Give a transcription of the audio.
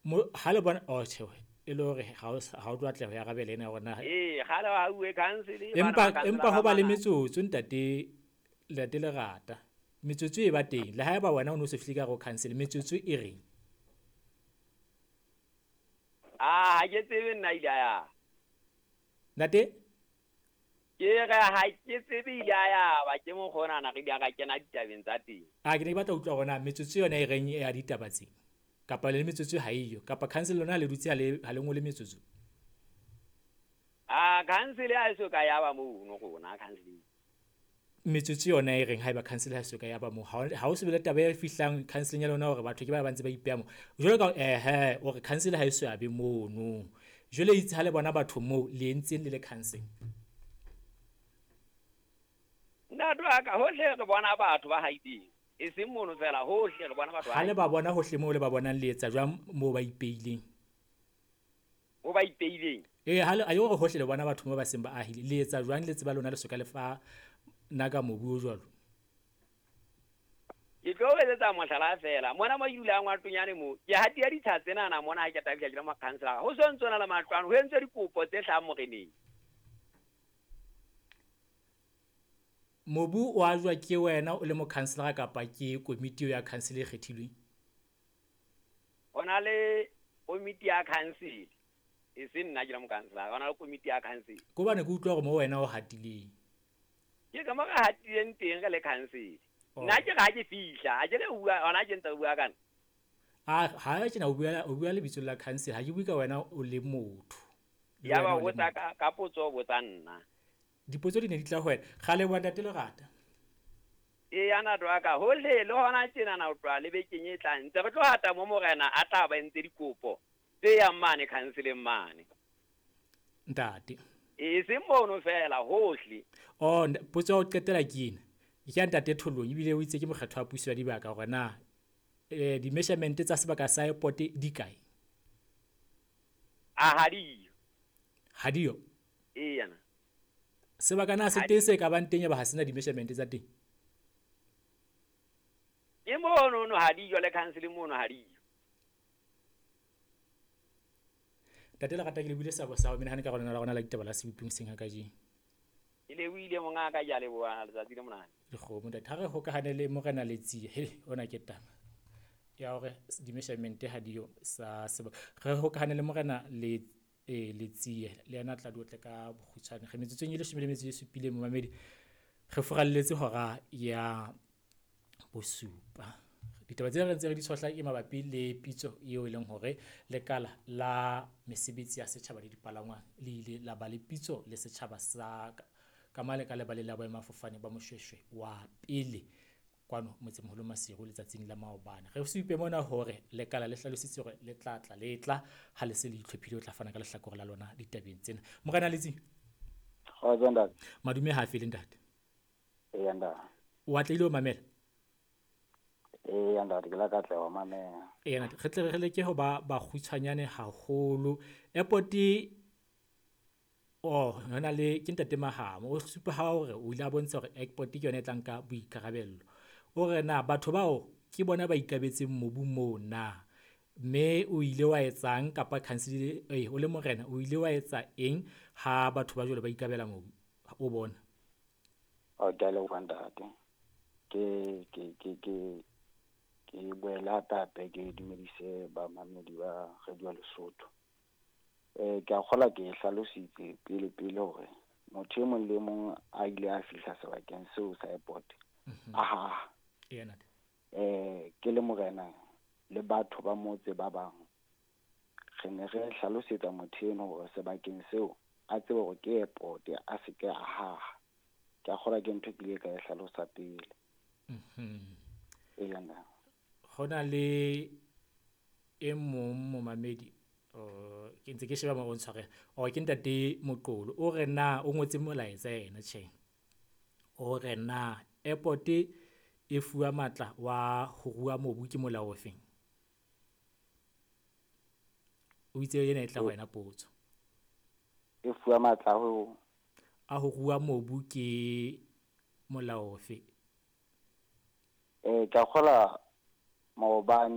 Ha le bona, oh tjhe, e le hore ha o tlo atleha ho arabela ena hore na. Ee, kgale wa hauwe council. Empa ho ba le metsotso ntate Lerata. Metsotso e ba teng. Le haeba wena o no se fihle ka hare ho council, metsotso e reng? Ah, ha ke tsebe nna ile a ya. Ntate? Ke re ha ke tsebe ile a ya ba ke mokgonana re ile ra kena ditabeng tsa teng. Ah, ke ne ke batla ho utlwa hore na metsotso yona e reng ya ditaba tse? Kapa le metsotso ha eyo, kapa council lona le dutse ha le ngole metsotso? Ah, council ha e so ka ya ba mono rona council. Metsotso yona e reng haeba council ha so ka ya ba moo, ha o se bele taba e fihlang council ya lona hore batho ke ba ntse ba ipeha moo. Jwale ka hore council ha e so ya be mono. Jwale itse ha le bona batho moo le entseng le le council. Ntate wa ka hohle re bona batho ba haileng. E seng mono fela, hohle re bona batho ba. Ha le ba bona hohle moo le ba bonang le etsa jwang moo ba ipeileng? Mo ba ipeileng? Eh, ha le a hore hohle le bona batho mo ba seng ba ahile. Le etsa jwang le tseba lona le soka le fa naka mobu o jwalo? Ke tlo etsa mohlala fela. Mona mo ke dulang wa Tonyane mo. Ke hatia ditsha tsena na mona ha ke tabile ke le mo councilor. Ho so ntse na le matlwana, ho entswe dikopo tse hlahang moreneng. Mobu o ajwa ke wena o le mo councilor kapa ke komiti ya council e kgethilweng? Hona le komiti ya council. E seng nna ke le mo councilor, hona le komiti ya council. Ko bane ke utlwa hore mo wena o hatileng. Ke ka mo re hatileng teng re le council. Nna ke ra ke fihla, ha ke le bua, hona ke ntse bua kana. Ah, ha ke na o bua lebitso la council, ha ke bue ka wena o le motho. Ya ba botsa ka potso botsa nna. Dipotso di ne di tla ho wena. Kgale wa ntate Lerata. E ya ntate wa ka, hohle le hona tjena na o tloha le bekeng e tlang. Ntse re tlo hata mo morena a tla ba entse dikopo tse yang mane councileng mane. Ntate. E seng mono fela hohle. Oh, potso ya ho qetela ke ena. Ke ya ntate Tholong ebile o itse ke mokgetho wa puso ya dibaka hore na di-measurement tsa sebaka sa airport di kae? Ah, ha diyo. Ha diyo? E yana. Sebaka na se teng se ka bang teng ya ba ha sena di-measurement tsa teng? Ke mono no ha diyo le council mono ha diyo. Ntate Lerata ke le buile sabo sa ho menahane ka rona la rona la ditaba la seboping seng ha kajeno. Ke le buile monga ka ja leboha letsatsi le monate. Dikgomo ntate, ha re hokahane le morena Letsie, he ona ke taba ya hore di-measurement ha diyo sa sebaka. Re hokahane le morena Letsie le yena tla di otle ka bokgutshwane. Re metsotsong e 17 momamedi, re furalletse hora ya bosupa. Ditaba tse re ntse re di tshohla ke mabapi le pitso eo e leng hore lekala la mesebetsi ya setjhaba le dipalangwang le ile la ba le pitso le setjhaba sa ka mane ka lebaleng la boemafofane ba Moshoeshoe wa pele kwano motsemoholo Maseru letsatsing la maobane. Re supe mona hore lekala le hlalositse hore le tla tla le tla ha le se le itlhophile ho tla fana ka lehlakore la lona ditabeng tsena. Morena Letsie. Kgotso ntate. Madume ha fele ntate. Eya ntate. O atlehile ho mamela? Eya ntate, ke la ka tla wa mamela. Eya ntate, re tle re leke ho ba bakgutshwanyane haholo. Airport oh, hona le ke ntate Mahamo o supa ha hore o ile a bontsha hore airport ke yona e tlang ka boikarabello. O re na batho bao ke bona ba ikabetseng mobu moo na, mme o ile wa etsang kapa council o le morena o ile wa etsa eng ha batho ba jwalo ba ikabela mobu o bona? O ke a leboha ntate. Ke boela hape ke dumedise bamamedi ba Radio Lesotho. Ke a kgola ke hlalositse pele pele hore motho e mong le mong a ile a fihla sebakeng seo sa airport. Aha. Ena. Ke le morena le batho ba motse ba bang. Re ne re hlalosetsa motho eno hore sebakeng seo a tsebe hore ke airport a se ke a haha. Ke a kgola ke ntho ke ile ka e hlalosa pele. Ena. Hona le e mong momamedi ke ntse ke sheba mo o ntshware o ke ntate Moqolo o re na o ngotse molaetsa yena tjhe. O re na airport e fuwa matla wa ho rua mobu ke molao ofeng? O itse yena e tla ho wena potso. E fuwa matla ho a ho rua mobu ke molao ofe? Ke a kgola maobane